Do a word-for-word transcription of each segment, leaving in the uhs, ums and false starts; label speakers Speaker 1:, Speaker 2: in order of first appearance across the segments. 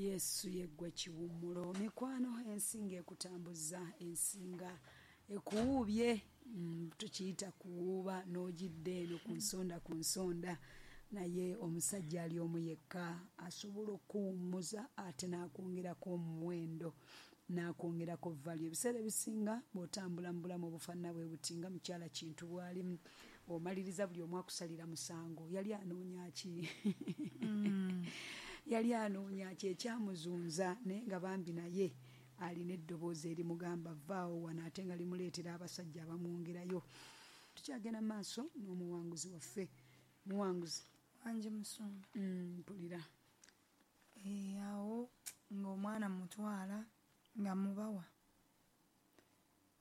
Speaker 1: Yesu yeggwe kiwummulo. Mikwano, ensinga ekutambuza, ensinga ekuwuubye, mm, tukiyita kuwuuba n'ogidde eno ku nsonda ku nsonda, naye omusajja ali omu yekka asobola okuwummuza ate n'akwongerako omuwendo, n'akwongerako value. Ebiseera ebisinga bw'otambula mu bulamu obufaanana bwe buti nga mukyala Kintu bw'alimu, omaliriza buli omu akusalira musango. Yali anoonya ki? Yali anoonya ki ekyamuzunza? Naye nga bambi naye alina eddoboozi erimugamba vaawo wano, ate nga limuleetera abasajja abamwongerayo. Tukyagenda mu maaso n'omuwanguzi waffe. Muwanguzi.
Speaker 2: Wangi musumba.
Speaker 1: Mm, mpulira.
Speaker 2: Eh, awo ng'omwana mutwala nga mubawa,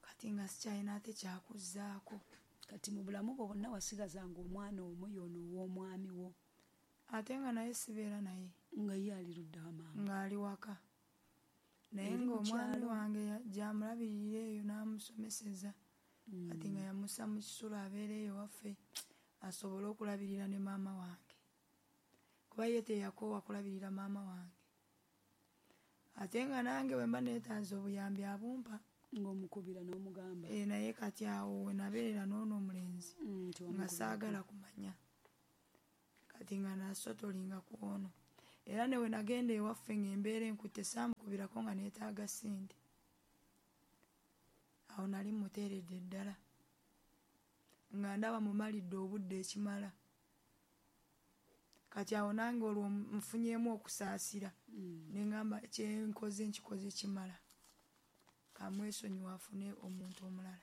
Speaker 2: kati nga sikyalina ate kyakuzzaako.
Speaker 1: Kati mu bulamu bwo bwonna wasigazanga omwana omu y'ono ow'omwami wo?
Speaker 2: Ate nga naye sibeera naye.
Speaker 1: Nga ye ali ludda wa maama?
Speaker 2: Ng'ali waka, naye
Speaker 1: Eri mu
Speaker 2: ng'omwami
Speaker 1: kyalo?
Speaker 2: wange ya- gy'amulabirira eyo n'amusomeseza. Kati nga yamussa mu kisulo abeera eyo waffe asobole okulabirira ne maama wange, kuba ye teyakoowa kulabirira maama wange. Ate nga nange bwe mba neetaaze obuyambi abumpa.
Speaker 1: Ng'omukubira n'omugamba?
Speaker 2: E, naye kati awo we nabeerera n'ono omulenzi
Speaker 1: Mm,
Speaker 2: nga
Speaker 1: tewamukubirako.
Speaker 2: saagala kumanya. Kati nga nasotolinga ku ono, era ne we nagenda ewaffe ng'embeera enkutte, saamukubirako nga neetaaga ssente. Awo nali muteeredde ddala nga ndaba mumalidde obudde ekimala. Kati awo nange olwo nfunyeemu okusaasira,
Speaker 1: Mm.
Speaker 2: ne ŋŋamba kyenkoze nkikoze kimala, kamwesonyiwe afune omuntu omulala.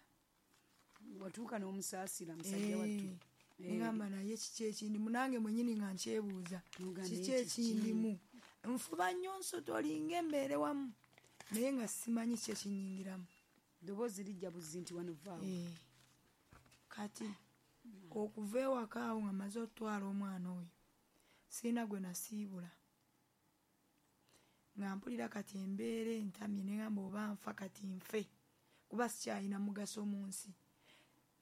Speaker 1: Watuuka n'omusaasira musajja wattu?
Speaker 2: Eh, neŋŋamba naye kiki ekindimu? Nange mwenyini nga nkyebuuza,
Speaker 1: N'ogamba
Speaker 2: kiki
Speaker 1: naye kiki?
Speaker 2: ekindimu? Nfuba nnyo nsotolinga embeere wamu naye nga simanyi ki ekinyingiramu.
Speaker 1: Ddoboozi lijja buzzi nti wano vaawo.
Speaker 2: Eh, kati okuva ewaka awo nga maze okutwala omwana oyo, sirina gwe nasiibula, nga mpulira kati embeera entamye, neŋŋamba oba nfa kati nfe, kuba sikyalina mugaso mu nsi.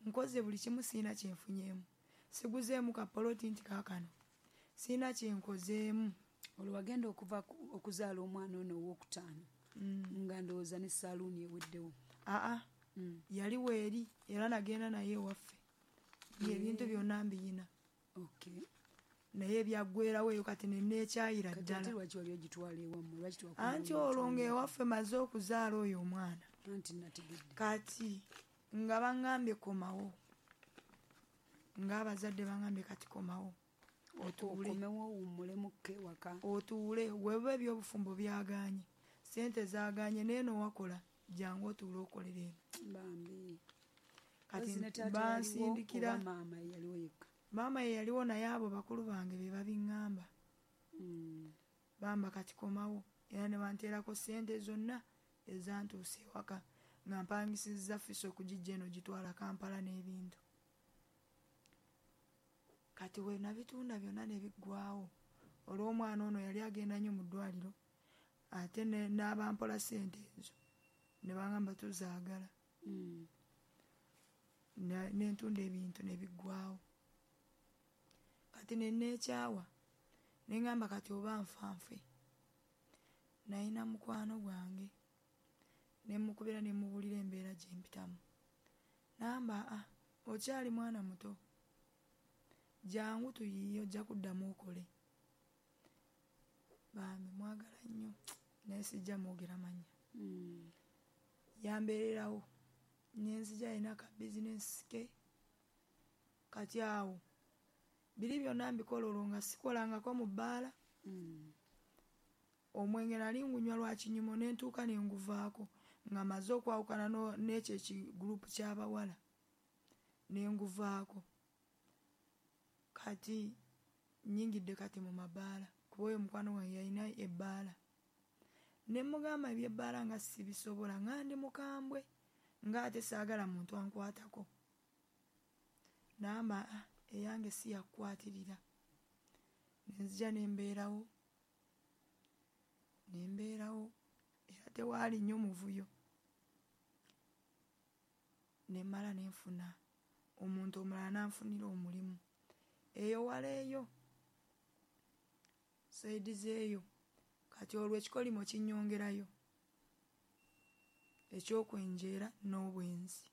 Speaker 2: Nkoze buli kimu, sirina kyenfunyeemu, siguzeemu kapoloti nti kaakano sirina kyenkozeemu.
Speaker 1: Olwo wagenda okuva ku- okuzaala omwana ono owokutaano nga ndowooza ne saaluuni eweddewo.
Speaker 2: Aa,
Speaker 1: Mm.
Speaker 2: yali weeri, era nagenda naye ewaffe ng'ebintu byonna mbiyina.
Speaker 1: Okay.
Speaker 2: Naye byaggwerawo eyo, kati neneekyayira
Speaker 1: Kati ate
Speaker 2: ddala.
Speaker 1: lwaki wali ogitwala ewammwe? Lwaki tewakomawo
Speaker 2: Anti olwo
Speaker 1: n'otwala?
Speaker 2: ng'ewaffe maze okuzaala oyo omwana.
Speaker 1: Anti nategedde.
Speaker 2: Kati nga baŋŋambye komawo, ng'abazadde baŋŋambye kati komawo otuule.
Speaker 1: Okomewo owummulemu-ko ewaka.
Speaker 2: Otuule, weba ebyobufumbo byagaanye, sente zaagaanye, neeno wakola, jangu otuule okolera eno.
Speaker 1: Bambi.
Speaker 2: Kati
Speaker 1: Ozzi ne taata
Speaker 2: bansindikira.
Speaker 1: yaliwo oba maama ye yaliwo yekka?
Speaker 2: Maama ye yaliwo, naye abo bakulu bange be babiŋŋamba.
Speaker 1: Mm.
Speaker 2: Bamba kati komawo, era ne banteerako sente zonna ezantuusa ewaka nga mpangisizza Fuso okugijja eno gitwala Kampala n'ebintu. Kati we nabitunda byonna ne biggwawo olw'omwana ono yali agenda nnyo mu ddwaliro, ate ne- n'abampola sente ezo ne baŋŋamba tuzaagala.
Speaker 1: Mm.
Speaker 2: Ne- nentunda ebintu ne biggwawo. Kati neneekyawa, neŋŋamba kati oba nfa nfe. Nalina mukwano gwange, nemukubira nemubulira embeera gye mpitamu. Namba a okyali mwana muto, jangu tuyiiye, ojja kuddamu okole. Bambi mwagala nnyo, naye sijja mwogera mannya.
Speaker 1: Mm.
Speaker 2: Yambeererawo nenzija, alina ka bizinesi ke. Kati awo biri byonna mbikola, olwo nga sikolangako mu bbaala.
Speaker 1: Mm.
Speaker 2: Omwenge nali ngunywa lwa kinyumo, nentuuka nenguvaako nga maze okwawukana no- n'ekyo ekigurupu ky'abawala, nenguvaako. Kati nyingidde kati mu mabaala, kuba oyo mukwano gwange yalina ebbaala, ne mugamba ebyebbaala nga sibisobola, nga ndi mukambwe, ng'ate saagala muntu ankwatako. Namba "Ah, eyange si yakukwatirira." Nenzija nembeerawo nembeerawo era tewaali nnyo muvuyo. Nemmala nenfuna omuntu omulala nanfunira omulimu eyo wala eyo side zeeyo. Kati olwo ekikolimo kinnyongerayo ekyokwenjeera n'obwenzi.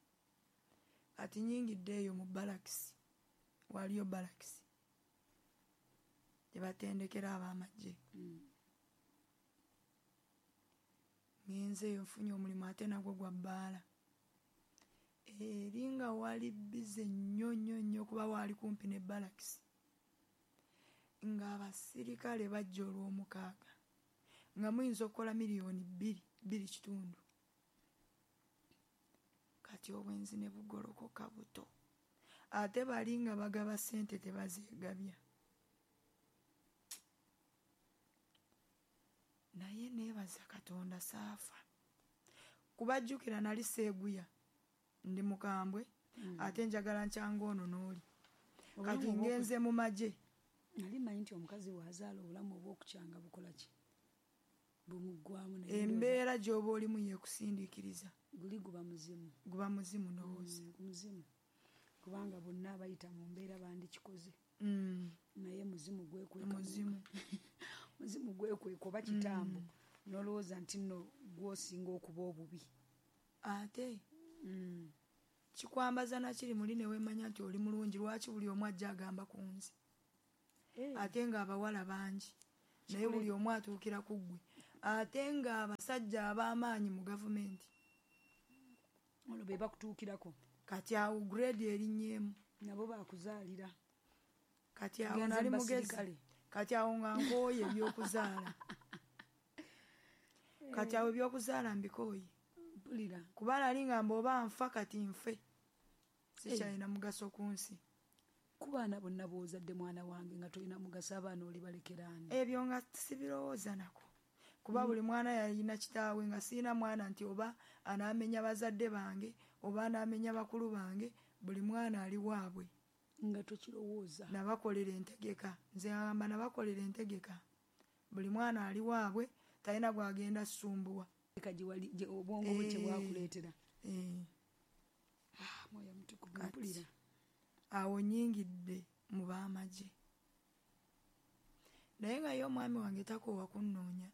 Speaker 2: Kati nnyingidde eyo mu balakisi, waliyo balakisi gye batendekera ab'amagye.
Speaker 1: Mm.
Speaker 2: Ngenze eyo nfunye omulimu ate nagwo gwa bbaala. Eri nga wali bbize nnyo nnyo nnyo kuba waali kumpi ne balakisi. Ng'abasirikale bajja olw'omukaaga nga muyinza okukola miliyoni bbiri bbiri kitundu. Kati obwenzi ne bugolokoka buto. Ate bali nga bagaba ssente tebazeegabya. Naye neebaza Katonda saafa. Kubajjukira nali seeguya, ndi mukambwe,
Speaker 1: Mm.
Speaker 2: ate njagala nkyanga ono n'oli. Kati
Speaker 1: Obulamu obw'oku-
Speaker 2: ngenze mu magye.
Speaker 1: Nali mmanyi nti omukazi bw'azaala obulamu obw'okukyanga bukola ki? Bumuggwamu naye ndowooza
Speaker 2: Embeera gy'oba olimu yeekusindiikiriza.
Speaker 1: Guli guba muzimu.
Speaker 2: Guba muzimu ndowooza.
Speaker 1: Mm, muzimu. Kubanga bonna abayita mu mbeera bandikikoze.
Speaker 2: Mm.
Speaker 1: Naye muzimu gwekweka mu-
Speaker 2: Muzimu.
Speaker 1: Muzimu gwekweka oba kitambo.
Speaker 2: Mm.
Speaker 1: N'olowooza nti nno gw'osinga okuba obubi.
Speaker 2: Ate
Speaker 1: Mm.
Speaker 2: kikwambaza nakiri muli ne weemanya nti oli mulungi, lwaki buli omu ajja agamba ku nze?
Speaker 1: Eh.
Speaker 2: Ate ng'abawala bangi, naye
Speaker 1: Kikule-
Speaker 2: buli omu atuukira ku ggwe. Ate ng'abasajja ab'amaanyi mu gavumenti.
Speaker 1: Olwo be bakutuukirako.
Speaker 2: Kati awo grade erinnyeemu.
Speaker 1: Nabo baakuzaalira.
Speaker 2: Kati awo
Speaker 1: Tugenze
Speaker 2: nali
Speaker 1: mu
Speaker 2: mugezi.
Speaker 1: basirikale.
Speaker 2: Kati awo nga nkooye ebyokuzaala. Kati awo ebyokuzaala mbikooye.
Speaker 1: Mpulira.
Speaker 2: Kuba nali ngamba oba nfa kati nfe. Sikyalina mugaso ku nsi.
Speaker 1: Ku baana bonna b'ozadde mwana wange nga tolina mugaso, abaana olibalekera ani?
Speaker 2: Ebyo nga sibirowooza nako. Kuba buli mwana yalina kitaawe, nga sirina mwana nti oba anaamenya bazadde bange oba anaamenya bakulu bange, buli mwana ali waabwe.
Speaker 1: Nga tokirowooza.
Speaker 2: Nabakolera entegeka. Nze ngamba nabakolera entegeka. Buli mwana ali waabwe, talina gw'agenda ssumbuwa.
Speaker 1: Eka gye wali, gye obwongo bwe kye
Speaker 2: Eh.
Speaker 1: bwakuleetera.
Speaker 2: Eh.
Speaker 1: Ah, Mwoyo Mutukuvu,
Speaker 2: Kati
Speaker 1: mpulira.
Speaker 2: awo nnyingidde mu b'amagye. Naye nga ye omwami wange takoowa kunnoonya.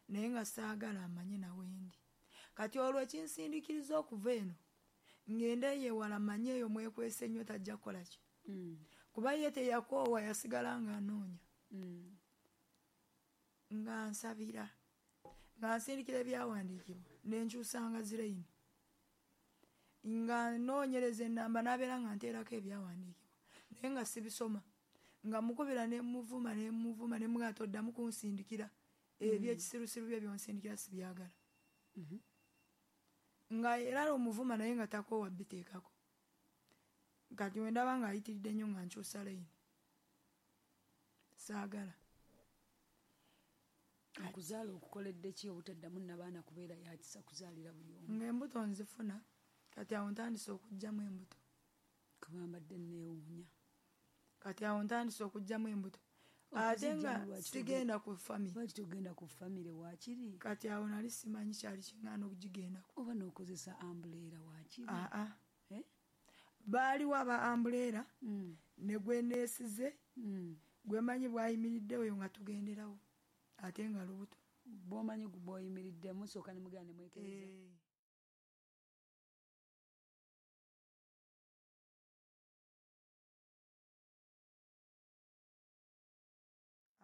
Speaker 2: Naye nga saagala amanye nawe ndi. Kati olwo ekinsindiikiriza okuva eno, ngende eyo ewala manye eyo mwekwese nnyo tajja kukola ki?
Speaker 1: Mm.
Speaker 2: Kuba ye teyakoowa, yasigala ng'anoonya.
Speaker 1: Mm.
Speaker 2: Nga nsabira. Nga nsindikira ebyawandiikibwa, ne nkyusanga zirayini. Nga nnoonyereza ennamba n'abeera nga nteerako ebyawandiikibwa. Naye nga sibisoma. Nga mukubira ne muvuma, ne muvuma, ne mugamba toddamu kunsindikira. Ebyekisirusiru bye by'onsindikira sibyagala.
Speaker 1: Mm-hmm.
Speaker 2: Nga era omuvuma naye nga takoowa biteekako. Kati we ndaba ng'ayitiridde nnyo nga nkyusa layini. Saagala.
Speaker 1: Okuzaala okukoledde ki obutaddamu nnabaana kubeera ya kisa kuzaalira buli omu?
Speaker 2: Ng'embuto nzifuna, kati awo ntandise okuggyamu embuto.
Speaker 1: Kuba mbadde neewuunya.
Speaker 2: Kati awo ntandise okuggyamu embuto. Ate nga
Speaker 1: Okuzijjamu lwaki
Speaker 2: sigenda
Speaker 1: togenda
Speaker 2: ku famire.
Speaker 1: Lwaki togenda ku famire waakiri?
Speaker 2: Kati awo nali simanyi kyali kiŋŋaana okugigendako.
Speaker 1: Oba n'okozesa ambuleera waakiri?
Speaker 2: Aa.
Speaker 1: Eh?
Speaker 2: Baaliwo aba ambuleera,
Speaker 1: Mm.
Speaker 2: ne gwe neesize,
Speaker 1: Mm.
Speaker 2: gwe mmanyi bw'ayimiridde oyo nga tugenderawo. Ate nga lubuto.
Speaker 1: Bw'omanyi bw'oyimiridde, musooka ne mugenda ne mwekereza.
Speaker 2: Eh.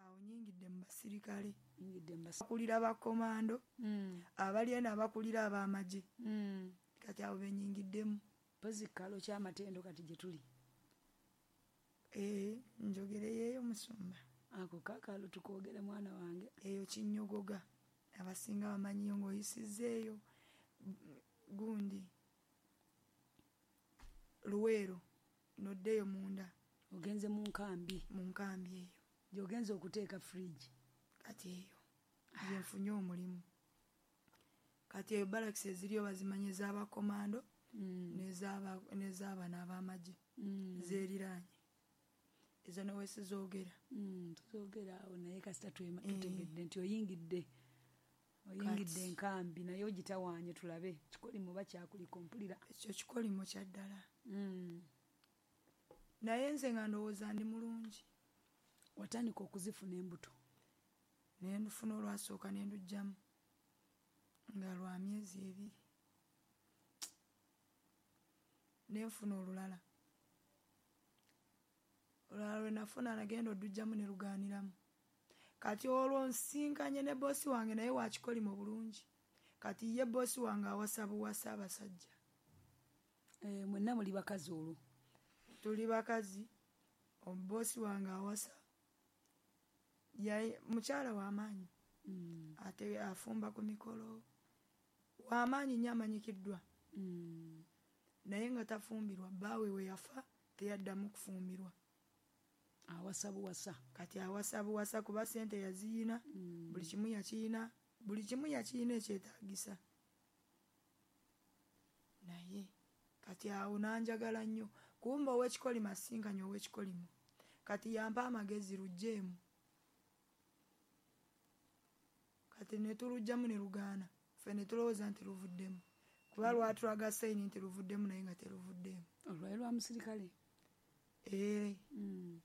Speaker 2: Awo nnyingidde mu basirikale.
Speaker 1: Nnyingidde mu basi-
Speaker 2: Abakulira ba komando,
Speaker 1: Mm.
Speaker 2: abali eno abakulira ab'amagye.
Speaker 1: Mm.
Speaker 2: Kati abo be nnyingiddemu.
Speaker 1: Mpozi kalo ky'amatendo kati gye tuli.
Speaker 2: Eh, njogereyo musumba.
Speaker 1: Ako kaakalo tukoogere mwana wange.
Speaker 2: Eyo kinnyogoga. Abasinga bamanyiyo ng'oyisizzeeyo gundi Luweero n'oddeyo munda.
Speaker 1: Ogenze mu nkambi.
Speaker 2: Mu nkambi eyo.
Speaker 1: Gy'ogenze okuteeka fridge.
Speaker 2: Kati eyo gye nfunye omulimu. Kati eyo barracks eziriyo bazimanyi ez'abakomando
Speaker 1: Mm.
Speaker 2: n'ez'aba-, n'ez'abano ab'amagye
Speaker 1: Mm.
Speaker 2: zeeriraanye. Ezo ne weesizoogera.
Speaker 1: Mm, tuzoogera awo naye kasita twema-,
Speaker 2: Eh.
Speaker 1: tutegedde nti oyingidde. Oyingidde
Speaker 2: Kati.
Speaker 1: enkambi naye ogitawaanye tulabe. Kikolimo oba kyakuliko mpulira.
Speaker 2: Ekyo kikolimo kya ddala.
Speaker 1: Mm.
Speaker 2: Naye nze nga ndowooza ndi mulungi.
Speaker 1: Watandika okuzifuna embuto?
Speaker 2: Nendufuna olwasooka nendugyamu nga lwa myezi ebiri. Nenfuna olulala. Olulala lwe nafuna nagenda odugyamu ne lugaaniramu. Kati olwo nsinkanye ne boosi wange naye wakikolimo bulungi. Kati ye boosi wange awasa buwasa abasajja.
Speaker 1: Eh, mwenna muli bakazi olwo?
Speaker 2: Tuli bakazi. Omubosi wange awasa. Yaye mukyala w'amaanyi.
Speaker 1: Mm.
Speaker 2: Ate afumba ku mikolo. W'amaanyi nnyo amanyikiddwa.
Speaker 1: Mm.
Speaker 2: Naye nga tafumbirwa, bbaawe we yafa teyaddamu kufumbirwa.
Speaker 1: Awasa buwasa.
Speaker 2: Kati awasa buwasa kuba ssente yaziyina,
Speaker 1: Mm.
Speaker 2: buli kimu yakiyina, buli kimu yakiyina ekyetaagisa. Naye kati awo n'anjagala nnyo. Kumba ow'ekikolimo asinkanye ow'ekikolimo. Kati yampa amagezi luggyeemu. Kati ne tuluggyamu ne lugaana. Ffe ne tulowooza nti luvuddemu. Kuba lwatulaga sayini nti luvuddemu naye nga teruvuddemu.
Speaker 1: Olwali lwa musirikale?
Speaker 2: Ee.
Speaker 1: Mm.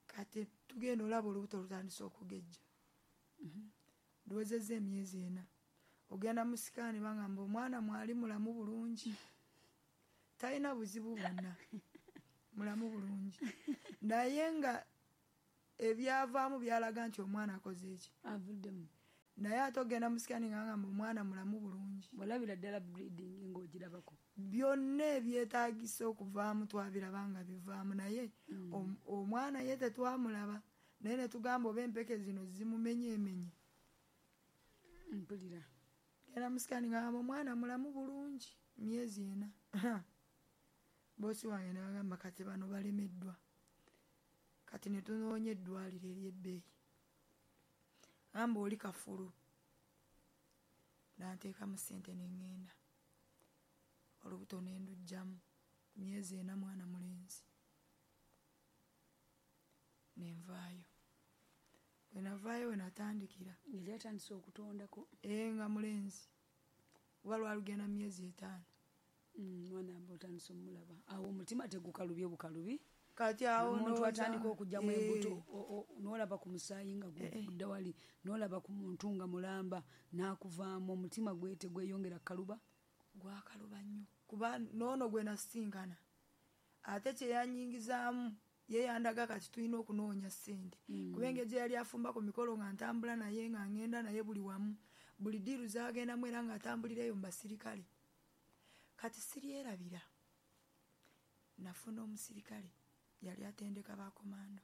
Speaker 2: Kati tugenda olaba olubuto lutandise okugejja.
Speaker 1: Mm-hmm.
Speaker 2: Luwezezza emyezi ena. Ogenda mu sikaani bangamba omwana mwali mulamu bulungi. Talina buzibu bwonna. Mulamu bulungi. Naye nga ebyavaamu byalaga nti omwana akoze eki?
Speaker 1: Avuddemu.
Speaker 2: Naye ate ogenda mu sikaani ng'agamba omwana mulamu bulungi.
Speaker 1: Olabira ddala bleeding ng'ogirabako.
Speaker 2: Byonna ebyetaagisa okuvaamu twabiraba nga bivaamu naye
Speaker 1: Mm.
Speaker 2: om-, omwana ye tetwamulaba. Naye ne tugamba oba empeke zino zimumenyeemenye.
Speaker 1: Mpulira.
Speaker 2: Genda mu sikaani ng'agamba omwana mulamu bulungi myezi ena. Boosi wange n'agamba kati bano balemeddwa. Kati ne tunoonya eddwaliro ery'ebbeeyi. Gamba oli kafulu. N'anteekamu ssente ne ŋŋenda. Olubuto ne nduggyamu myezi ena mwana mulenzi. Ne nvaayo. Bwe navaayo we natandikira.
Speaker 1: Yali atandise okutondako?
Speaker 2: Ee, nga mulenzi. Kuba lwalugenda myezi etaano.
Speaker 1: Mm, mwana aba otandise omulaba. Awo omutima tegukalubye bukalubi?
Speaker 2: Kati awo
Speaker 1: Omuntu
Speaker 2: ndowooza
Speaker 1: atandika okuggyamu
Speaker 2: Eh.
Speaker 1: embuto, o-, o-, n'olaba ku musaayi nga
Speaker 2: Eh, eh.
Speaker 1: gudda wali, n'olaba ku muntu nga mulamba, n'akuvaamu, omutima gwe tegweyongera kukaluba?
Speaker 2: Gwakaluba nnyo. Kuba n'ono gwe nasinkana. Ate kye yannyingizaamu, ye yandaga kati tulina okunoonya ssente.
Speaker 1: Mm.
Speaker 2: Kuba engeri gye yali afumba ku mikolo nga ntambula naye nga ŋŋenda naye buli wamu. Buli ddiiru z'agendamu era ng'atambulira eyo mu basirikale. Kati siryerabira. Nafuna omusirikale yali atendeka bakomando.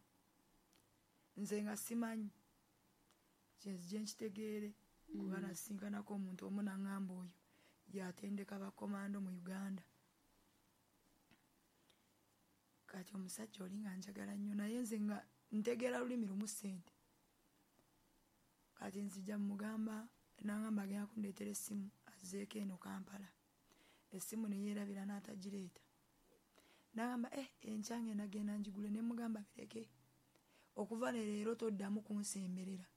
Speaker 2: Nze nga simanyi. Kyenzije nkitegeere kuba
Speaker 1: Mm.
Speaker 2: nasinkanako omuntu omu n'aŋŋamba oyo yatendeka bakomando mu Uganda. Kati omusajja oli nga njagala nnyo naye nze nga ntegeera lulimi lumu ssente. Kati nzija mmugamba n'aŋŋamba agenda kundeetera essimu azzeeko eno Kampala. Essimu ne yeerabira n'atagireeta. N'agamba, eh, enkya ngenda genda ngigule. Ne mmugamba bireke. Okuva ne leero toddamu kunsemberera.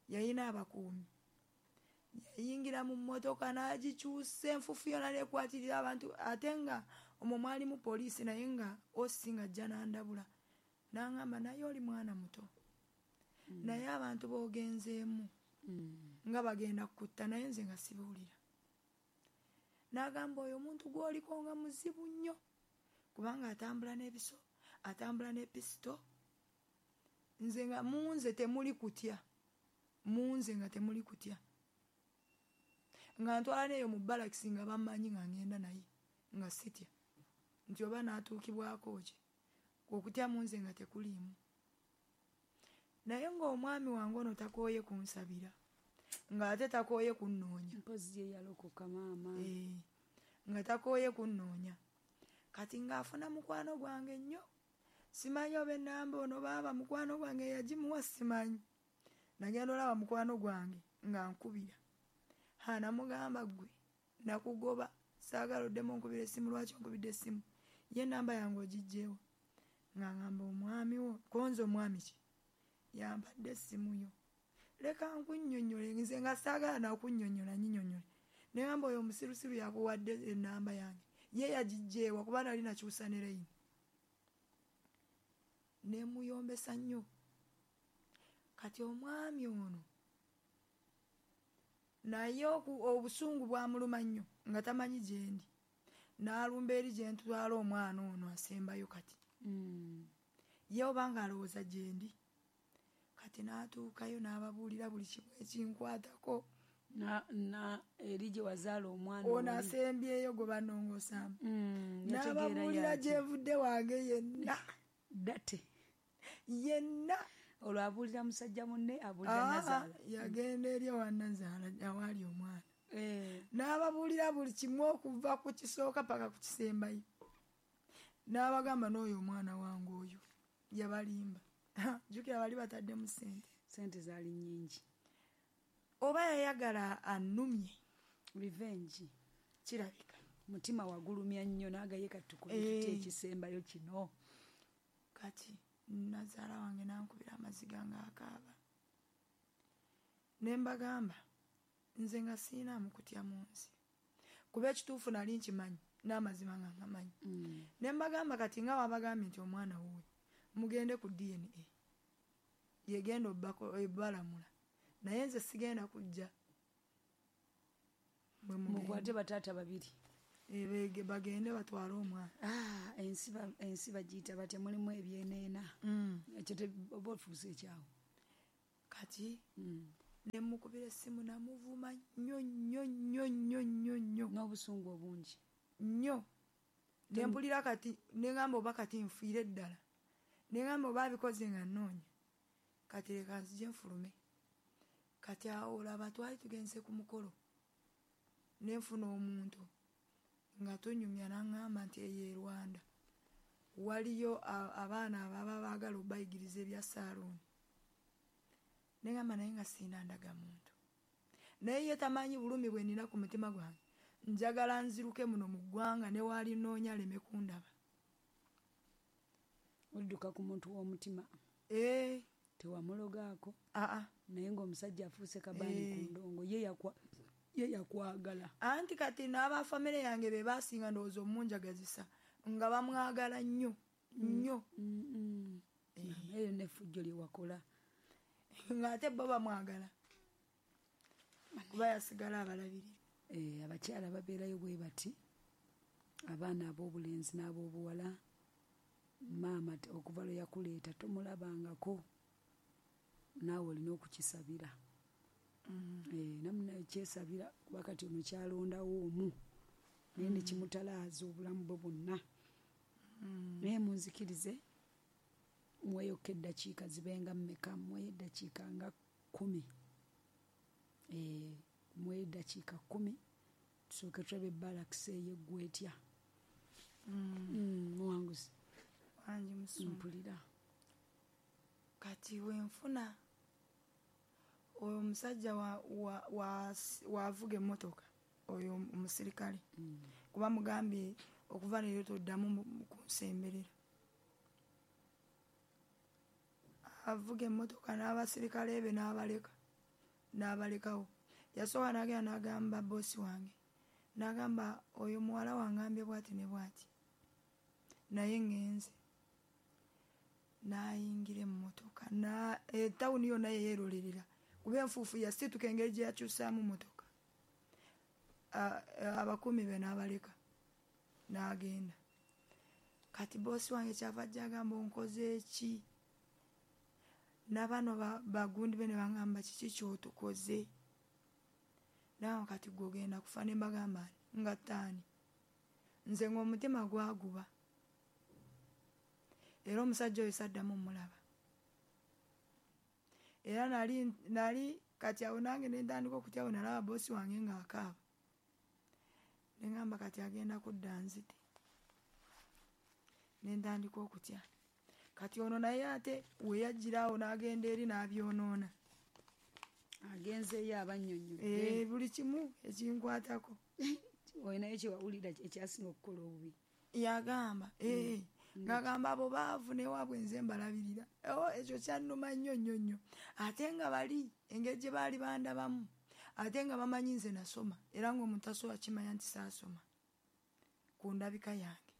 Speaker 2: Yalina abakuumi. Yayingira mu mmotoka n'agikyusa enfuufu yonna n'ekwatirira abantu ate nga omwo mwalimu poliisi naye nga osi ng'ajja n'andabula. N'aŋŋamba naye oli mwana muto.
Speaker 1: Mm.
Speaker 2: Naye abantu b'ogenzeemu
Speaker 1: Mm.
Speaker 2: nga bagenda kukutta naye nze nga sibuulira. N'agamba oyo omuntu gw'oliko nga muzibu nnyo kubanga atambula n'ebiso, atambula ne pisito. Nze nga mu nze temuli kutya. Mu nze nga temuli kutya. Nga ntwala n'eyo mu balakisi nga bammanyi nga ŋŋenda naye nga sitya. Nti oba n'atuukibwako ki? Okutya mu nze nga tekuliimu. Naye ng'omwami wange ono takooye kunsabira. Ng'ate takooye kunnoonya.
Speaker 1: Mpozzi ye yalokoka maama.
Speaker 2: Eh, nga takooye kunnoonya. Kati ng'afuna mukwano gwange nnyo. Simanyi oba ennamba ono baaba mukwano gwange yagimuwa simanyi. Nagenda olaba mukwano gwange nga nkubira. Ha, namugamba ggwe nakugoba saagala oddemu onkubira essimu, lwaki onkubidde essimu? Ye ennamba yange ogiggyeewo. Nga ngamba omwami wo, konze omwami ki? Yampadde essimu yo. Leka nkunnyonnyole, nze nga saagala nakunnyonnyola nnyinyonnyole. Ne ngamba oyo omusirusiru yakuwadde ennamba yange. Ye yagiggyeewa kuba nali nakyusa ne layini. Ne muyombesa nnyo. Kati omwami ono naye obusungu bwamuluma nnyo nga tamanyi gyendi, n'alumba eri gye ntwala omwana ono asembayo kati.
Speaker 1: Mm.
Speaker 2: Ye obanga alowooza gyendi. Kati n'atuukayo n'ababuulira buli kimu ekinkwatako.
Speaker 1: Na, na eri gye wazaala omwana
Speaker 2: ono asembyeyo gwe banongoosaamu.
Speaker 1: Mm,
Speaker 2: n'ababuulira gye nvudde wange yenna.
Speaker 1: Date.
Speaker 2: Yenna.
Speaker 1: Olwo abuulira musajja munne, abuulira Nazaala.
Speaker 2: Yagenda eri ewa Nazaala awaali omwana.
Speaker 1: Eh.
Speaker 2: N'ababuulira buli kimu okuva ku kisooka paka ku kisembayo. N'abagamba n'oyo omwana wange oyo yabalimba. Jjukira bali bataddemu ssente.
Speaker 1: Ssente zaali nnyingi.
Speaker 2: Oba yayagala annumye.
Speaker 1: Revenge.
Speaker 2: Kirabika.
Speaker 1: Mutima wagulumya nnyo n'agaye kati tukole tutya ekisembayo kino.
Speaker 2: Kati Nazaala wange n'ankubira amaziga ng'akaaba. Ne mbagamba nze nga siinaamu kutya mu nsi. Kuba ekituufu nali nkimanyi n'amazima nga ngamanyi.
Speaker 1: Mm.
Speaker 2: Ne mbagamba kati nga wabagambye nti omwana wuwe mugende ku D N A. Yegenda obbalamula. Naye nze sigenda kujja.
Speaker 1: Mukwate bataata babiri.
Speaker 2: Ebege bagende batwale omwana.
Speaker 1: Ah, ensi ensi bagiyita batya, mulimu ebyeneena.
Speaker 2: Mm.
Speaker 1: Ekyo oba ofuuse ekyawo.
Speaker 2: Kati
Speaker 1: mm.
Speaker 2: ne mukubira essimu namuvuma nnyo nnyo nnyo nnyo nnyo nnyo.
Speaker 1: N'obusungu obungi.
Speaker 2: Nnyo. Ne mpulira kati ne ngamba oba kati nfiire ddala. Ne ngamba oba abikoze nga nnoonya. Kati leka nzije nfulume. Kati awo olaba twali tugenze ku mukolo. Ne nfuna omuntu nga tunyumya n'aŋŋamba nti eyo e Rwanda waliyo abaana ababa baagala obayigiriza ebya saaluuni. Ne ngamba naye nga sirina ndagamuntu. Naye ye tamanyi bulumi bwe nnina ku mutima gwange. Njagala nziruke muno mu ggwanga ne waali nnoonya aleme kundaba.
Speaker 1: Odduka ku muntu w'omutima.
Speaker 2: Eh.
Speaker 1: Tewamulogaako.
Speaker 2: Aa.
Speaker 1: Naye ng'omusajja afuuse kabaani ku ndongo ye yakwa ye yakwagala.
Speaker 2: Anti kati n'abafamire yange be baasinga ndowooza omunjagazisa nga bamwagala nnyo nnyo.
Speaker 1: Eyo n'effujjo lye wakola.
Speaker 2: Ng'ate bo bamwagala. Kuba yasigala abalabirira.
Speaker 1: Eh, abakyala babeerayo bwe bati, abaana ab'obulenzi n'ab'obuwala, maama okuva lwe yakuleeta tomulabangako, naawe olina okukisabira.
Speaker 2: Mm.
Speaker 1: Eh, namunaye kyesabira kuba kati ono kyalondawo omu naye ne kimutalaaza obulamu bwe bwonna.
Speaker 2: Mm.
Speaker 1: Naye munzikirize mweyokka eddakiika zibenga mmeka, mweyo eddakiika nga kkumi. Eh, mweyo eddakiika kkumi tusooke tulabe balakisi eyo eggwa etya.
Speaker 2: Mm.
Speaker 1: Mm, muwanguzi.
Speaker 2: Wangi musumba.
Speaker 1: Mpulira.
Speaker 2: Kati wenfuna oyo omusajja waavuga emmotoka oyo omusirikale.
Speaker 1: Mm.
Speaker 2: Kuba mugambye okuva leero toddamu kunsemberera. Avuga emmotoka n'abasirikale be n'abaleka n'abalekawo. Yasooka n'agenda n'agamba boosi wange, n'agamba oyo muwala wangambye bw'ati ne bw'ati, naye ŋŋenze. N'ayingira emmotoka etawuni yonna yeyeerolerera kuba enfuufu yasituka engeri gye yakyusaamu mmotoka. Abakuumi be n'abaleka n'agenda. Kati boosi wange kyava ajja agamba onkoze ki? N'abano bagundi be ne baŋŋamba kiki ky'otukoze? Naawe kati gwe ogenda kufa. Ne mbagamba nga ttaani. Nze ng'omutima gwaguba. Era omusajja oyo saddamu mmulaba. Era nali nali kati awo nange ne ntandika okutya bwe nalaba boosi wange ng'akaaba. Ne ŋŋamba kati agenda kudda nzite. Ne ntandika okutya. Kati ono naye ate we yajjira awo n'agenda eri n'abyonoona.
Speaker 1: Agenzeeyo abannyonnyodde.
Speaker 2: Eh, buli kimu ekinkwatako.
Speaker 1: Olinayo kye wawulira ekyasinga okukola obubi?
Speaker 2: Yagamba, eh, ng'agamba abo baavu n'ewaabwe nze mbalabirira. Oh, ekyo kyannuma nnyo nnyo nnyo. Ate nga bali engeri gye baali bandabamu, ate nga bamanyi nze nasoma, era ng'omuntu tasobola kimanya nti saasoma ku ndabika yange.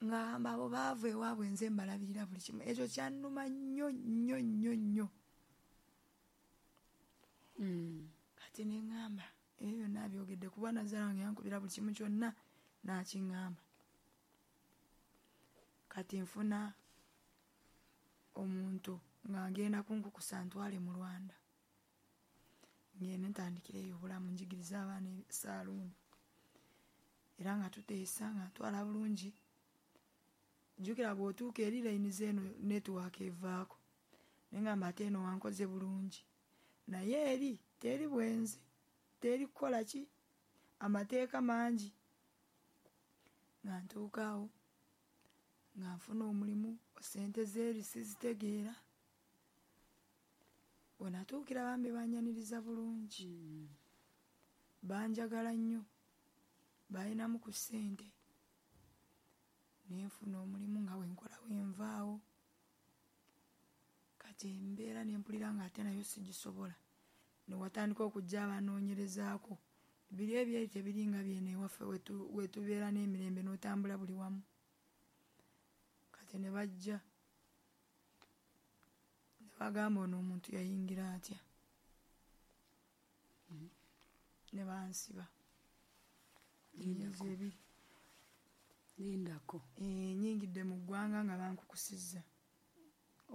Speaker 2: Ngamba abo baavu ewaabwe nze mbalabirira buli kimu. Ekyo kyannuma nnyo nnyo nnyo nnyo.
Speaker 1: Mm.
Speaker 2: Kati ne ŋŋamba ebyo byonna byogedde kuba nazaala wange yankubira buli kimu kyonna n'akiŋŋamba. Kati nfuna omuntu nga ngenda kunkukusa ntwale mu Rwanda. Ngende ntandikireyo obulamu njigirize abaana saaluuni. Era nga tuteesa nga ntwala bulungi. Jjukira bw'otuuka eri layini z'eno netiwaaka evaako. Ne ŋŋamba ate eno wankoze bulungi. Naye eri teri bwenzi, teri kukola ki, amateeka mangi. Nga ntuuka awo nga nfuna omulimu, ssente z'eri sizitegeera. We natuukira bambi bannyaniriza bulungi. Banjagala nnyo, balinamu ku ssente. Ne nfuna omulimu nga bwe nkola we nvaawo. Kati embeera ne mpulira ng'ate nayo sigisobola. Ne watandika okujja abanoonyerezaako. Biri ebyeri tebiringa byeno ewaffe we tubeera n'emirembe n'otambula buli wamu. Kati ne bajja ne bagamba ono omuntu yayingira atya. Ne bansiba emyezi ebiri.
Speaker 1: Lindako.
Speaker 2: Eh, nnyingidde mu ggwanga nga bankukusizza.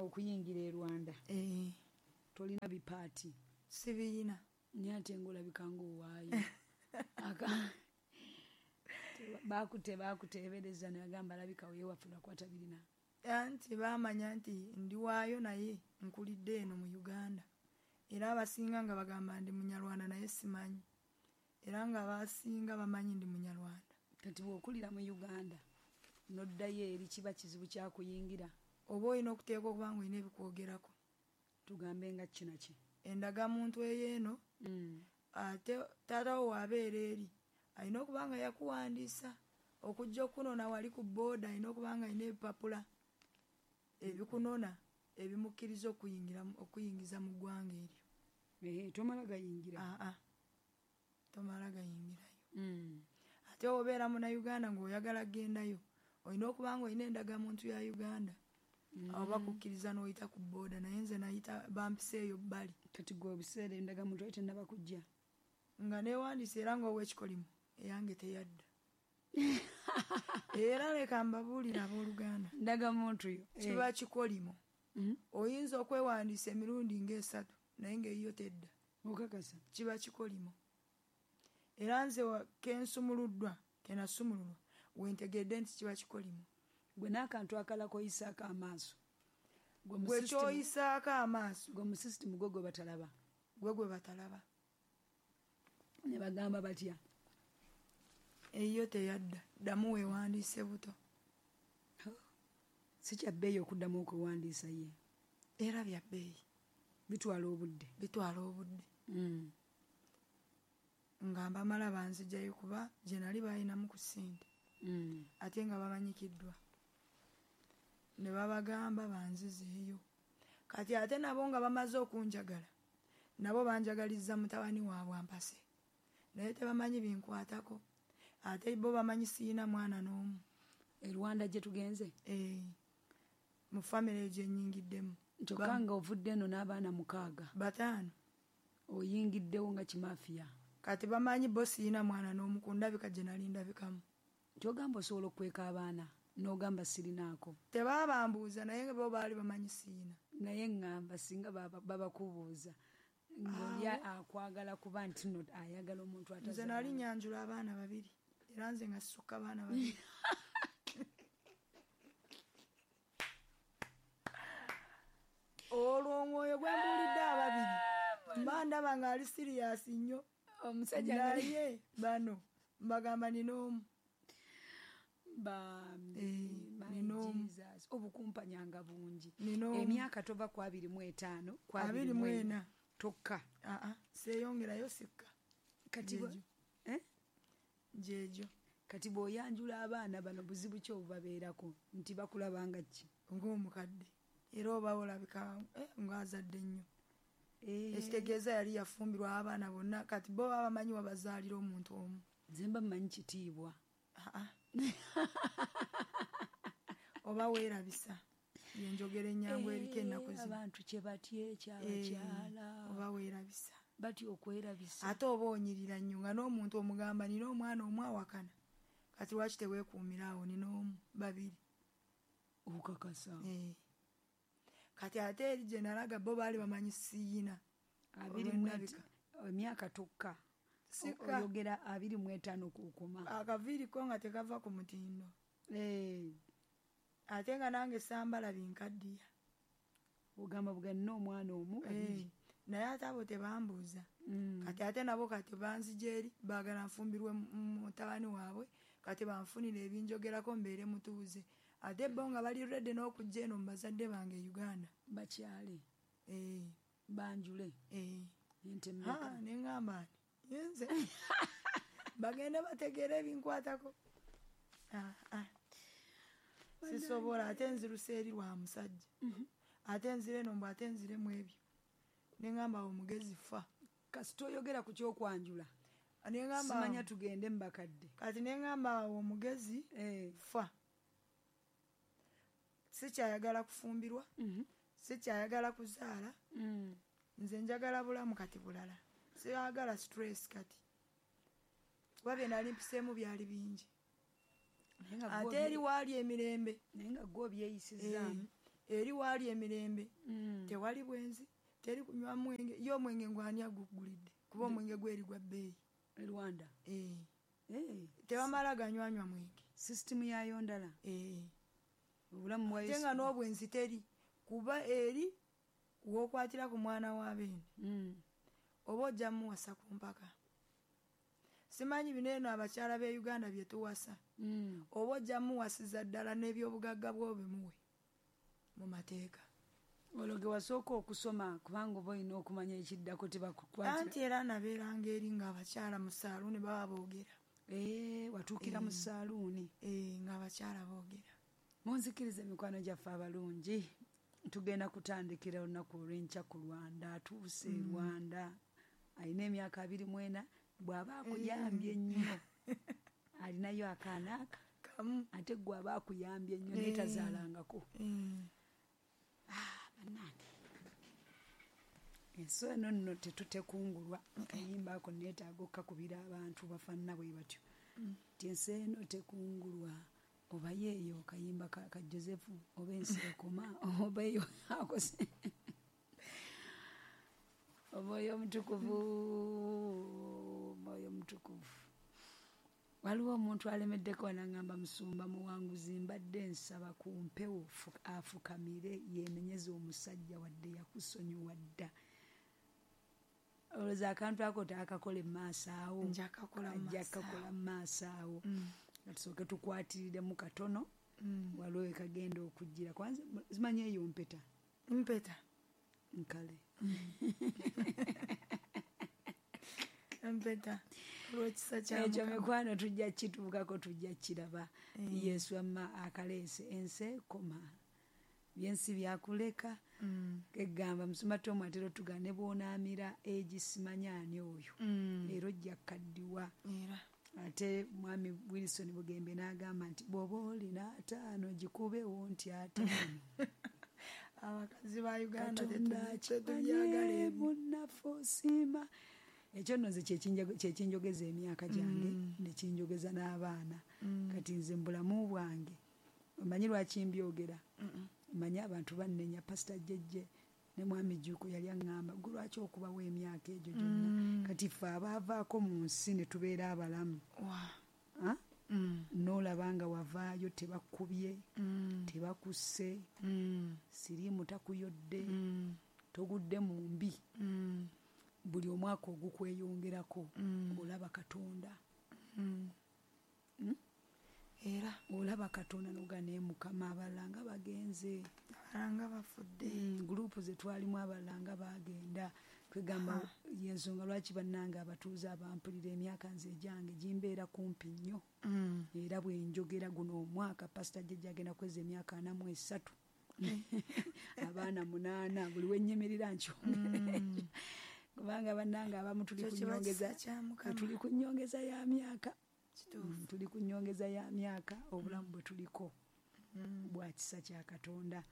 Speaker 1: Okuyingira e Rwanda.
Speaker 2: Eh.
Speaker 1: Tolina bipaati.
Speaker 2: Sibiyina.
Speaker 1: Naye ate ng'olabika ng'owaayo. Baakute baakuteebereza ne bagamba alabika weewaffe lwakuba tabirina.
Speaker 2: Anti baamanya nti ndi waayo naye nkulidde eno mu Uganda. Era abasinga nga bagamba ndi Munyarwanda naye simanyi. Era nga abasinga bamanyi ndi Munyarwanda.
Speaker 1: Kati bw'okulira mu Uganda n'oddayo eri kiba kizibu kya kuyingira.
Speaker 2: Oba olina okuteeka okuba ng'olina ebikwogerako.
Speaker 1: Tugambe nga kino ki?
Speaker 2: Endagamuntu ey'eno
Speaker 1: Mm.
Speaker 2: ate taata wo w'abeera eri alina okuba nga yakuwandiisa okujja okunona wali ku bbooda alina okuba nga alina ebipapula ebikunona ebimukkiriza okuyingira okuyingiza mu ggwanga eryo.
Speaker 1: Eh, tomala gayingira.
Speaker 2: Aa, tomala gayingirayo.
Speaker 1: Mm.
Speaker 2: Ate obeera Munnayuganda ng'oyagala kgendayo olina okuba ng'olina endagamuntu ya Uganda.
Speaker 1: Mm.
Speaker 2: Awo bakukkiriza n'oyita ku bbooda naye nze nayita bampisa eyo bbali.
Speaker 1: Kati gwe ebiseera endagamuntu yali tennaba kujja.
Speaker 2: Nga neewandiise era ng'ow'ekikolimu eyange teyadda. Era leka mbabuulire abooluganda.
Speaker 1: Ndagamuntu yo.
Speaker 2: Kiba kikolimo.
Speaker 1: Mm.
Speaker 2: Oyinza okwewandiisa emirundi ng'esatu naye ng'eyiyo tedda.
Speaker 1: Okakasa.
Speaker 2: Kiba kikolimo. Era nze ke nsumuluddwa, ke nasumululwa, we ntegedde nti kiba kikolimo.
Speaker 1: Gwe n'akantu akalala k'oyisaako amaaso.
Speaker 2: Gwe ky'oyisaako amaaso.
Speaker 1: Gwe mu system gwe gwe batalaba.
Speaker 2: Gwe gwe batalaba.
Speaker 1: Ne bagamba batya?
Speaker 2: Eyiyo teyadda, ddamu weewandiise buto.
Speaker 1: Si kya bbeeyi okuddamu okwewandiisa ye.
Speaker 2: Era bya bbeeyi.
Speaker 1: Bitwala obudde.
Speaker 2: Bitwala obudde.
Speaker 1: Mm.
Speaker 2: Nga mbamala banzigyayo kuba gye nali balinamu ku ssente.
Speaker 1: Mm.
Speaker 2: Ate nga bamanyikiddwa. Ne babagamba banzizeeyo. Kati ate nabo nga bamaze okunjagala, nabo banjagalizza mutabani waabwe ampase. Naye tebamanyi binkwatako. Ate bo bamanyi siyina mwana n'omu.
Speaker 1: E Rwanda gye tugenze?
Speaker 2: Eh. Mu famire gye nnyingiddemu.
Speaker 1: Kyokka nga ovudde eno n'abaana mukaaga.
Speaker 2: Bataano.
Speaker 1: Oyingiddewo nga kimaafiya.
Speaker 2: Kati bamanyi bo siyina mwana n'omu ku ndabika gye nali ndabikamu.
Speaker 1: Ky'ogamba osobola okweka abaana n'ogamba sirinaako.
Speaker 2: Tebaabambuuza naye bo baali bamanyi siyina.
Speaker 1: Naye ŋŋamba singa babakubuuza ng'oli akwagala kuba nti nno ayagala omuntu
Speaker 2: Nze
Speaker 1: atazaala.
Speaker 2: nali nnyanjula abaana babiri era nze nga sisukka abaana babiri. Olwo omwoyo gwe mbuulidde ababiri mba ndaba ng'ali siriyasi nnyo.
Speaker 1: Omusajja
Speaker 2: naye bano mbagamba nina omu.
Speaker 1: Bambi,
Speaker 2: Eh,
Speaker 1: my
Speaker 2: nina omu.
Speaker 1: Jesus, obukumpanyanga bungi.
Speaker 2: Nina omu.
Speaker 1: Emyaka tova ku abiri mu etaano, ku
Speaker 2: Abiri mu ena.
Speaker 1: Tokka.
Speaker 2: Aa, seeyongerayo sikka.
Speaker 1: Kati bwe-
Speaker 2: Gyegyo.
Speaker 1: Eh?
Speaker 2: Gyegyo.
Speaker 1: Kati bw'oyanjula abaana bano buzibu ki obubabeerako nti bakulaba nga ki?
Speaker 2: Ng'omukadde. Era oba olabika, eh, ng'azadde nnyo.
Speaker 1: Eh.
Speaker 2: Ekitegeeza yali yafumbirwa abaana bonna kati bo baba bamanyi wabazaalira omuntu omu.
Speaker 1: Nze mba mmanyi kitiibwa.
Speaker 2: Aa. Oba weerabisa. Yenjogera ennyangu eriko ennaku zino.
Speaker 1: Abantu kye batya ekyabakyala.
Speaker 2: Oba weerabisa.
Speaker 1: Batya okwerabisa.
Speaker 2: Ate oba onyirira nnyo nga n'omuntu omugamba nina omwana omu awakana. Kati lwaki teweekuumira awo nina omu babiri.
Speaker 1: Okakasa.
Speaker 2: Eh. Kati ate eri gye nalaga bo baali bamanyi siyina.
Speaker 1: Abiri mu emyaka tokka. Oyogera abiri mu etaano kukoma.
Speaker 2: Akaviiri ko nga tekava ku mutindo.
Speaker 1: Eh.
Speaker 2: Ate nga nange sambala binkaddiya.
Speaker 1: Ogamba buga nina omwana omu babiri.
Speaker 2: Eh. Naye ate abo tebambuuza.
Speaker 1: Mm.
Speaker 2: Kati ate nabo kati banzija eri baagala nfumbirwe mutabani waabwe kati banfunire ebinjogerako mbeere mutuuze. Ate bo nga bali ready n'okujja eno mu bazadde bange e Uganda.
Speaker 1: Bakyale.
Speaker 2: Eh.
Speaker 1: Banjule.
Speaker 2: Eh.
Speaker 1: Ente mmeka?
Speaker 2: Ne ŋŋamba nti nze bagende bategeere ebinkwatako. Ah, ah. Sisobola ate nziruse eri lwa musajja.
Speaker 1: Mm-hmm.
Speaker 2: Ate nzire eno mbu ate nzire mu ebyo. Ne ŋŋamba omugezi fa.
Speaker 1: Kasita oyogera ku ky'okwanjula.
Speaker 2: Ne ŋŋamba
Speaker 1: simanya tugende mu bakadde.
Speaker 2: Kati ne ŋŋamba omugezi
Speaker 1: eh.
Speaker 2: fa. Sikyayagala kufumbirwa.
Speaker 1: Mm-hmm.
Speaker 2: Sikyayagala kuzaala.
Speaker 1: Mm.
Speaker 2: Nze njagala bulamu kati bulala. Siyagala stress kati. Kuba bye nali mpiseemu byali bingi. Ate eri waali emirembe.
Speaker 1: Naye nga gwe obyeyisizaamu.
Speaker 2: Eri waali emirembe.
Speaker 1: Mm.
Speaker 2: Tewali bwenzi, teri kunywa mwenge. Ye omwenge ngwani agugulidde. Kuba omwenge gweri gwa bbeeyi.
Speaker 1: E Rwanda?
Speaker 2: Eh.
Speaker 1: Eh.
Speaker 2: Tebamala ganywanywa mwenge.
Speaker 1: Sisitimu yaayo ndala?
Speaker 2: Eh.
Speaker 1: Obulamu bwa
Speaker 2: Ate nga n'obwenzi teri. Kuba eri w'okwatira ku mwana wa beene.
Speaker 1: Mm.
Speaker 2: Oba ojja muwasa ku mpaka. Simanyi bino eno abakyala b'e Uganda bye tuwasa.
Speaker 1: Mm.
Speaker 2: Oba ojja muwasiza ddala n'ebyobugagga bw'obimuwe mu mateeka.
Speaker 1: Olwo ge wasooka okusoma kubanga oba olina okumanya ekiddako tebakukwatira.
Speaker 2: Anti era nabeeranga eri ng'abakyala mu saaluuni baba boogera.
Speaker 1: Eh, watuukira mu saaluuni.
Speaker 2: Eh, ng'abakyala boogera.
Speaker 1: Munzikirize mikwano gyaffe abalungi. Tugenda kutandikira olunaku olw'enkya ku Rwanda. Atuuse
Speaker 2: Mm.
Speaker 1: Rwanda. Alina emyaka abiri mu ena bw'aba akuyambye ennyo. Alinayo akaana aka.
Speaker 2: Kamu.
Speaker 1: Ate gwe aba akuyambye ennyo naye tazaalangako.
Speaker 2: Mm.
Speaker 1: Ah, bannange. Ensi eno nno tetutekungulwa. Akayimba ako neetaaga okkakubira abantu bafaanana bwe batyo. Nti ensi eno tekungulwa. Oba yeeyo kayimba ka, ka Joseph oba ensi ekoma oba eyo akose. Omwoyo omutukuvu, omwoyo omutukuvu. Waliwo omuntu alemeddeko n'aŋŋamba musumba muwanguzi mbadde nsaba ku mpewo afukamire yeenenyeze omusajja wadde yakusonyiwa dda. Olowooza akantu ako taakakola mu maaso awo.
Speaker 2: Nja kukakola mu
Speaker 1: Ajja
Speaker 2: maaso
Speaker 1: kukakola mu maaso awo.
Speaker 2: Mm.
Speaker 1: Tusooke tukwatiriremu katono.
Speaker 2: Mm.
Speaker 1: Waliwo we kagenda okujjira. Kwanza simanyi eyo mpeta.
Speaker 2: Mpeta.
Speaker 1: Nkale.
Speaker 2: Mpeta. Olw'ekisa kya
Speaker 1: Ekyo
Speaker 2: Mukama.
Speaker 1: mikwano tujja kituukako tujja kiraba.
Speaker 2: Mm.
Speaker 1: Yesu amma akaleese ensi ekoma. Byensi byakuleka.
Speaker 2: Mm.
Speaker 1: Egamba musumba Tom atera otugamba ne bw'onaamira egisimanya ani oyo.
Speaker 2: Mm.
Speaker 1: Era ojja kukaddiwa.
Speaker 2: Era.
Speaker 1: Ate mwami Wilson Bugembe n'agamba nti bw'oba olina ataano gikubewo nti ataano.
Speaker 2: Abakazi ba Uganda
Speaker 1: Katonda
Speaker 2: tetubyagala
Speaker 1: akimanye
Speaker 2: ebyo.
Speaker 1: munnaffe osiima. Ekyo nno nze kye kinjogeza emyaka gyange
Speaker 2: Mm.
Speaker 1: ne kinjogeza n'abaana.
Speaker 2: Mm.
Speaker 1: Kati nze mu bulamu bwange omanyi lwaki mbyogera?
Speaker 2: Mm-mm.
Speaker 1: Omanyi abantu bannenya Pastor Jjejje ne mwami Jjuuko yali aŋŋamba gwe lwaki okubawo emyaka egyo gyonna?
Speaker 2: Mm.
Speaker 1: Kati ffe abaavaako mu nsi ne tubeera abalamu.
Speaker 2: Wa.
Speaker 1: Ha?
Speaker 2: Mm.
Speaker 1: N'olaba nga wavaayo tebakubye,
Speaker 2: Mm.
Speaker 1: tebakusse,
Speaker 2: Mm.
Speaker 1: siriimu takuyodde,
Speaker 2: Mm.
Speaker 1: togudde mu mbi.
Speaker 2: Mm.
Speaker 1: Buli omwaka ogukweyongerako
Speaker 2: Mm.
Speaker 1: olaba Katonda.
Speaker 2: Mm.
Speaker 1: Mm?
Speaker 2: Era
Speaker 1: olaba Katonda n'oga naye Mukama abalala nga bagenze.
Speaker 2: Abalala nga bafudde.
Speaker 1: Mm, gurupu ze twalimu abalala nga bagenda. Kwegamba y'ensonga lwaki bannange abatuuze abampulira emyaka nze egyange gimbeera kumpi nnyo.
Speaker 2: Mm.
Speaker 1: Era bwe njogera guno omwaka Pastor Jjejje agenda kweza emyaka ana mu esatu. Abaana munaana buli we nnyimirira nkyongera.
Speaker 2: Mm.
Speaker 1: Kubanga bannange abamu tuli
Speaker 2: Ekyo
Speaker 1: ku
Speaker 2: kiba
Speaker 1: nnyongeza
Speaker 2: kisa kya Mukama.
Speaker 1: Tuli ku nnyongeza ya myaka.
Speaker 2: Kituufu.
Speaker 1: Mm, tuli ku nnyongeza ya myaka obulamu bwe tuliko. Bwa kisa kya Katonda.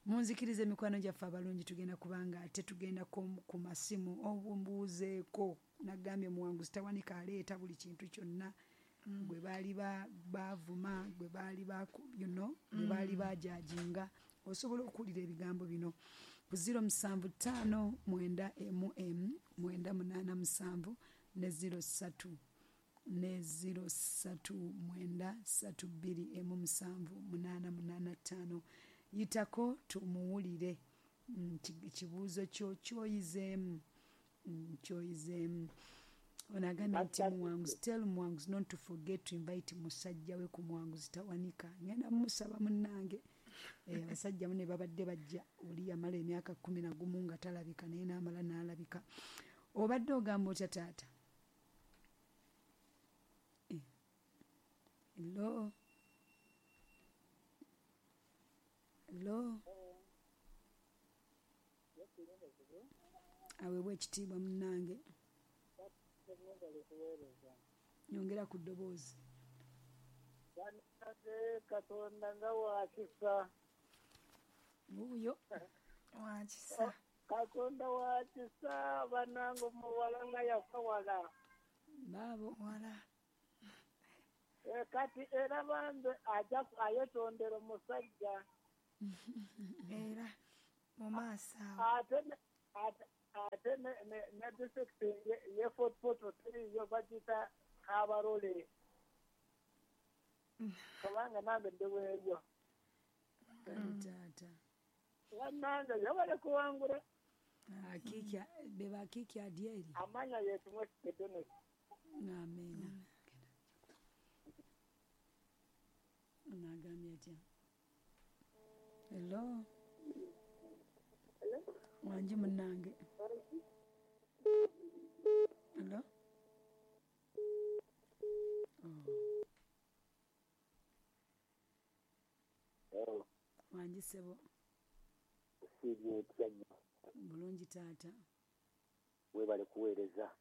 Speaker 1: Munzikirize mikwano gyaffe abalungi, tugenda kubanga ate tugenda ku masimu obumbuuzeeko. Nagambye Muwanguzi tawanika aleeta buli kintu kyonna gwe baali bavuma, gwe baali you know, gwe baali bajajinga. Osobola okuwulira ebigambo bino ku zero musanvu ttaano mwenda emu emu mwenda munaana musanvu ne zero ssatu ne zero ssatu mwenda ssatu bbiri emu musanvu munaana munaana ttaano. Yitako tumuwulire kibuuzo kyo kyoyizeemu kyoyizeemu. Onagambye nti Muwanguzi, tell Muwanguzi not to forget to invite musajja we ku Muwanguzi tawanika. Ngenda musaba munnange. Abasajja mune babadde bajja, oli yamala emyaka kkumi na gumu nga talabika, naye n'amala n'alabika. Obadde ogamba otya taata? Hello? Hello? Aweebwa ekitiibwa munnange. Nyongera ku ddoboozi.
Speaker 3: Katonda nga wakisa.
Speaker 1: Wuuyo.
Speaker 2: Wakisa.
Speaker 3: Katonda wakisa, bannange omuwala nga yafa wala.
Speaker 1: Baabo.
Speaker 2: Wala.
Speaker 3: Kati era bambe ajja ayetondera omusajja.
Speaker 2: Era mu maaso awo.
Speaker 3: Ate ate ne disitulikiti ye Fort Portal yo bagiyita Kabarole. Kubanga nange ndi weeyo.
Speaker 1: Kale taata.
Speaker 3: Bannange yabale kuwangula.
Speaker 1: Akiki be bakiki adyeri.
Speaker 3: Amanya yetu mwesikedone.
Speaker 1: Amiina. Nagambye atya? Hello? Wangi munnange. Hello? Oh. Wangi ssebo. Bulungi taata.
Speaker 4: Weebale kuweereza.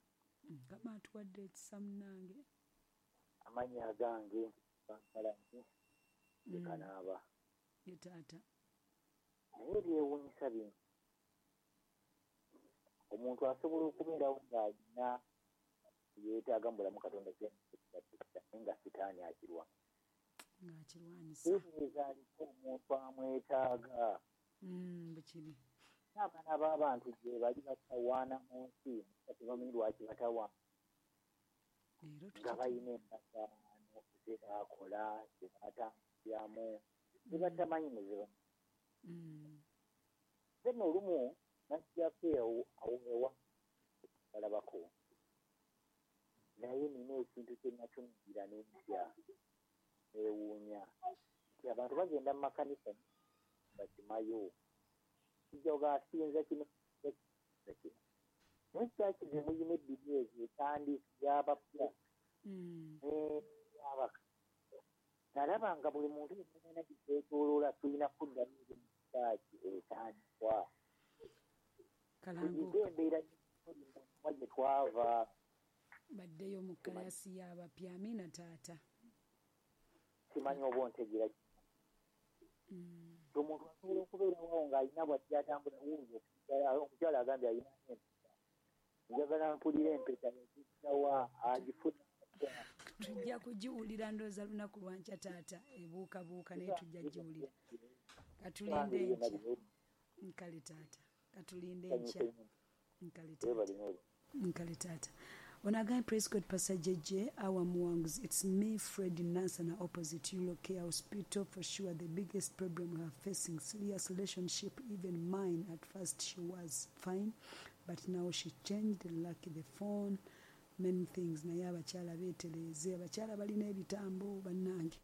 Speaker 1: Mukama atuwadde ekisa munnange.
Speaker 4: Amannya agange Kampalanyi Kanaaba.
Speaker 1: Ye taata.
Speaker 4: Naye ebyewuunyisa bino, omuntu asobola okubeerawo ng'alina yeetaaga mu bulamu Katonda naye nga sitaani akirwa.
Speaker 1: Ng'akirwanyisa.
Speaker 4: Teebereza aliko omuntu amwetaaga.
Speaker 1: Bwe kiri.
Speaker 4: N'abaana b'abantu gye bali batawaana mu nsi nga tebamanyi lwaki batawaana. Nga balina endagaano ze baakola, ze baatambuliramu, ze batamanyi ne ze bamanyi. Nze nno olumu najjako awo ewa balabako, naye nina ekintu kye natunuulira ne ntya, neewuunya nti abantu bagenda mu makanisa bakimayo, kijja ogaasinza kino kino kino. Naye kyaki ze muyina ebbiri ezo etandisi y'abapya n'eyabaka. Nalaba nga buli muntu yenna gyeyeetooloola tulina kuddamu eri mu kyaki etandikwa. Tuyige embeera y'omuwa gye twava.
Speaker 1: Baddeyo mu kkalasi y'abapya. Amiina taata.
Speaker 4: Simanyi oba ontegeera ki. Omuntu asobola okubeerawo ng'alina bw'ajja atambula wuuyo omukyala agambye alina empeta. Njagala mpulire empeta yagijjawa agifuna.
Speaker 1: Tujja kugiwulira ndowooza lunaku lwa nkya taata, ebuukabuuka naye tujja kugiwulira. Katulinde enkya. Nkale taata. Katulinde enkya. Nkale taata. Nkale taata. Onagambye praise God Pastor J J our Muwanguzi. It's me Fred Nansana opposite Euro Care Hospital. For sure the biggest problem we are facing, serious relationship, even mine. At first she was fine, but now she changed, like the phone, many things. Naye abakyala beetereeze, abakyala balina ebitambo bannange.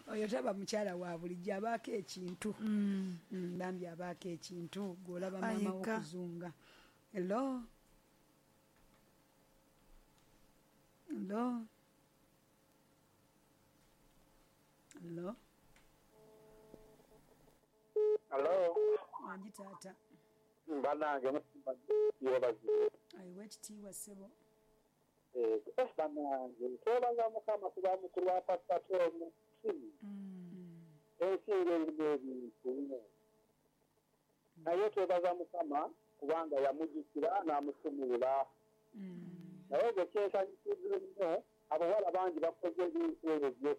Speaker 1: Oyo taba mukyala wa bulijjo, abaako ekintu. Bambi abaako ekintu, gw'olaba maama w'okuzunga. Hello? Hello? Hello?
Speaker 3: Hello?
Speaker 1: Wangi taata.
Speaker 3: Bannange yeebazibwe.
Speaker 1: Ayiwa ekitiibwa ssebo.
Speaker 3: Bannange twebaza Mukama kuba mukulu wa Pastor Tom.
Speaker 4: Ensi ensi ng'erimu ebintu, naye twebaza Mukama kubanga yamujjukira n'amusumulula. Naye gwe kyensanyusiza ennyo, abawala bangi bakoze ebintu ebyo,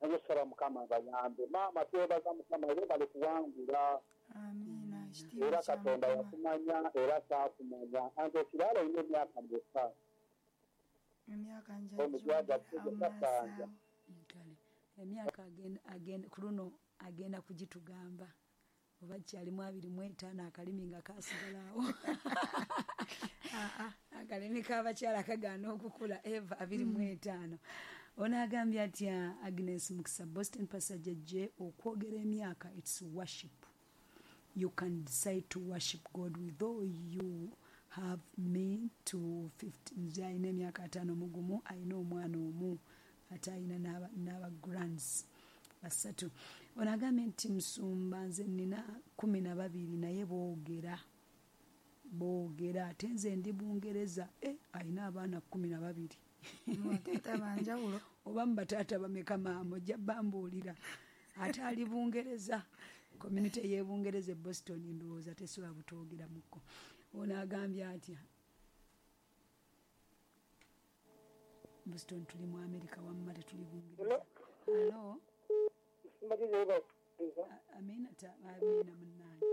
Speaker 4: naye saba Mukama abayambe. Maama, twebaza Mukama, webale kuwangula.
Speaker 2: Amiina. Ekitiibwa
Speaker 4: Era
Speaker 2: kya
Speaker 4: Katonda
Speaker 2: Mukama.
Speaker 4: yakumanya era kyakumanya. Anti ekirala, olina emyaka meka?
Speaker 2: Emyaka
Speaker 4: Omugwaga
Speaker 2: njajjogera amaaso
Speaker 4: kasanja.
Speaker 2: awo.
Speaker 1: Kale emyaka agenda, agenda ku luno agenda kugitugamba oba kyalimu abiri mu etaano. Akalimi nga kasigala awo, akalimi k'abakyala kagaana okukula. Eva, abiri mu etaano. Ono agambye atya? Agnes Mukisa, Boston. Pastor J, okwogera emyaka, it's worship. You can decide to worship God with though you have me to fifty. Nze alina emyaka ataano mu gumu, alina omwana omu, ate alina n'aba n'aba grands basatu. Ono agambye nti, musumba, nze nina kumi na babiri naye boogera boogera, ate nze ndi Bungereza. E, alina abaana kumi na babiri.
Speaker 2: Taata banjawulo.
Speaker 1: Oba mu bataata bameka, maama? Ojja bambuulira. Ate ali Bungereza, community y'e Bungereza e Boston, ndowooza tesobola butwogeramuko. Ono agambye atya? Boston, tuli mu America, wamma tetuli Bungereza. Hello. Amiina, ta amiina munnange.